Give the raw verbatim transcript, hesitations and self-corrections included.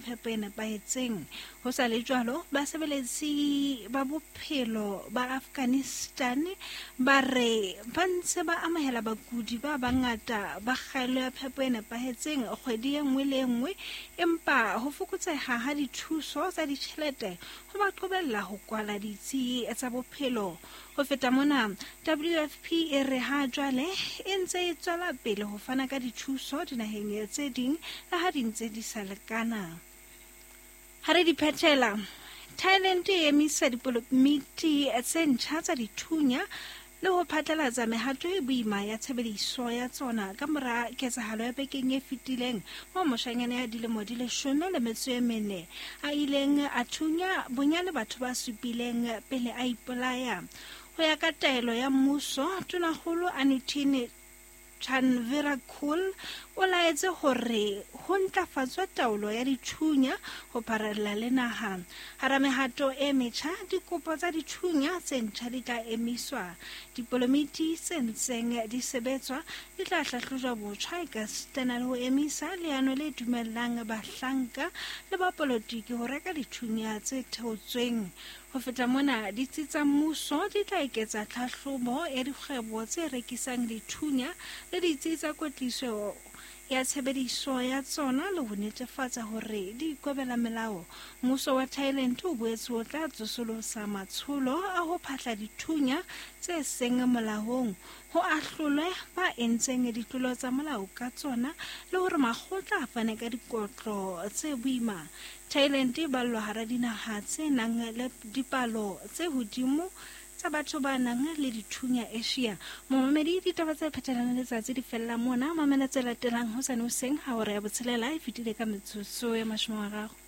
phepo e nepahetseng. Ho sa le jwalo, basebeletsi ba bophelo ba Afghanistan ba re ba ntse ba amohela bakudi ba bangata ba kgaello ya phepo e nepahetseng kgwedi e nngwe le e nngwe, empa ho fokotseha ha dithuso tsa ditjhelete ho ba qobella ho kwala ditsi tsa bophelo. Ho feta mona, W F P e re ha jwale e ntse e tswela pele ho fana ka dithuso dinaheng tse ding le ha di ntse di sa lekana. Ha re di phethela, Thailand e emisa dipolomiti tse ntjha tsa dithunya le ho phatlalatsa mehato e boima ya tshebediso ya tsona ka mora ketsahalo ya bekeng e fetileng moo moshanyana ya dilemo di leshome le metso e mene a ileng a thunya bonyane batho ba supileng pele a ipolaya. Ho ya ka taelo ya mmuso, Tonakgolo Anutin Chanvirakul o laetse hore ho ntlafatswe taolo ya dithunya ho pharalla le naha. Hara mehato e metjha, dikopo tsa dithunya tse ntjha di tla emiswa. Dipolomiti tse ntseng di sebetswa di tla hlahlojwa botjha ekasitana le ho emisa leano le dumellang bahlanka le bapolotiki ho reka dithunya tse theotsweng. Ho feta mona, ditsi tsa mmuso di tla eketsa tlhahlobo ya dikgwebo tse rekisang dithunya le ditsi tsa kwetliso ya tshebediso ya tsona le ho netefatsa hore di ikobela melao. Mmuso wa Thailand o boetse o tla tsosolosa matsholo a ho phahla dithunya tse seng molaong, ho ahlolwe ba entseng ditlolo tsa molao ka tsona le hore makgotla a fane ka dikotlo tse boima. Thailand e ballwa hara dinaha tse nang le dipalo tse hodimo tsa batho ba nang le dithunya Asia. Momamedi, ditaba tse phethelang letsatsi di fella mona. Mamela tse latelang hosane hoseng ha hora ya botshelela e fetile ka metsotso ya mashome a mararo.